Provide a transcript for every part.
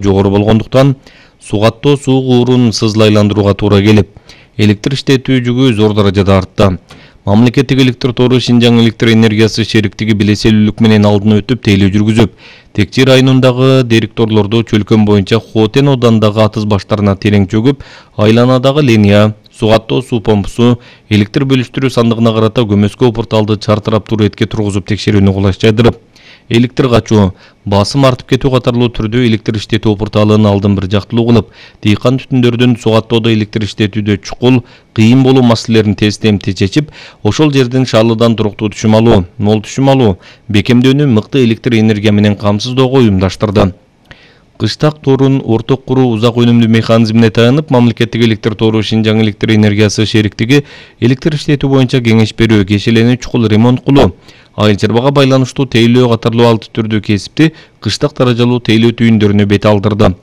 жогору болгондуктан сугаттоо суу куурун сызлайландырууга туура келип, электр иштетүү жүгү зор даражада артты. Мамлекеттик электр тору Шинжаң электр энергиясы шериктиги белеселүүлүк менен алдына өтүп тейлөө жүргүзүп, Текчи районундагы директорлорду чөлкөн боюнча Хотен оодандагы атыз баштарына терең чөгүп, айланадагы линия, сугаттоо суу помпусу, электр бөлүштүрүү сандыгына карата көмөскө порталды чартырап туретке тургузуп текшерүүнү кулайчайдырып, электр качуу, басым артып кетүү катарлуу түрдө электр иштетүү порталын алдын бир жактылуу кылып, дыйкан түтүндөрдүн сугаттоодо электр иштетүүдө чукул, кыйын болуу маселелерин тез-темти чечип, ошол жерден шаалыдан туруктуу түшүм алуу, мол түшүм алуу, бекемдөөнү мыкты электр энергия менен камсыздоого уюмдаштырды. Кыштак торун орток куруу узак өнүмдүү механизмине таянып, мамлекеттик электр тору Шинжаң электр энергиясы шериктиги электр иштетүү боюнча кеңеш берүү, кешелени чукул ремонт кылуу, айыл чарбага байланыштуу тейлөө катарлуу алты түрдүү кесипти кыштак даражалуу тейлөө түйүндөрүнө бет алдырды.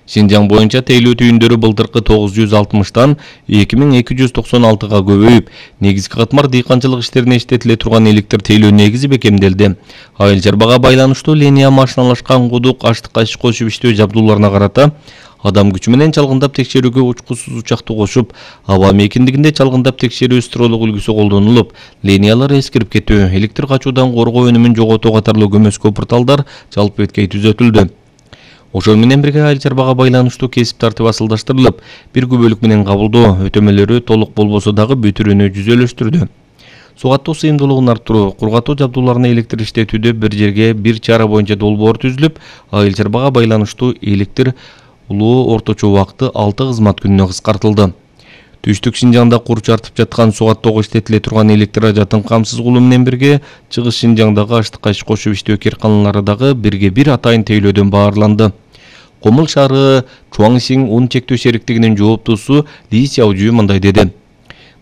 Шинжаң боюнча тейлөө түйүндөрү былтыркы 960тан 2296га көбөйүп, негизги катмар дыйканчылык иштерине иштетиле турган электр тейлөө негизи бекемделди. Айыл чарбага байланыштуу линия машиналашкан кудук, аштык аш кошуп иштөө жабдууларына карата адам күчү менен чалгындап текшерүүгө учкусуз учакты кошуп, аба мейкиндигинде чалгындап текшерүү стролук үлгүсү колдонулуп, линиялар эскирип кетүү, электр качуудан коргоо өнүмүн жоготуу катарлуу көмөскө порталдар жалпы беткей түзөтүлдү. Ошол менен бирге айыл чарбага байланыштуу кесип тартип асылдаштырылып, бир күбөлүк менен кабылдоо, өтөмөлөрү толук болбосо дагы бүтүрүүнү жүзөлөштүрдү. Сугаттоо сыйымдуулугун арттыруу, кургатуу жабдууларына электр иштетүүдө бир жерге бир чара боюнча долбоор түзүлүп, айыл чарбага байланыштуу электр улуу орточо убакыты 6 кызмат күнүнө кыскартылды. Түштүк Шинжаңда курч артып жаткан сугаттоого иштетиле турган электр ажатын камсыз кылуу менен бирге, Чыгыш Шинжаңдагы аштык аш кошуп иштөө кээрканалары дагы бирге бир атайын тейлөөдөн баарланды. Комул шаары Чуаңсиң ун чектөө шериктигинин жооптуусу Ли Сяожу мындай деди.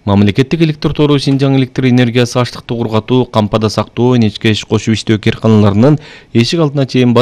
Мамлекеттик электр тору Шинжаң электр энергиясы аштыкты кургатуу, кампада сактоо, нечке аш кошуп иштөө кээрканаларынын эшик алдына чейин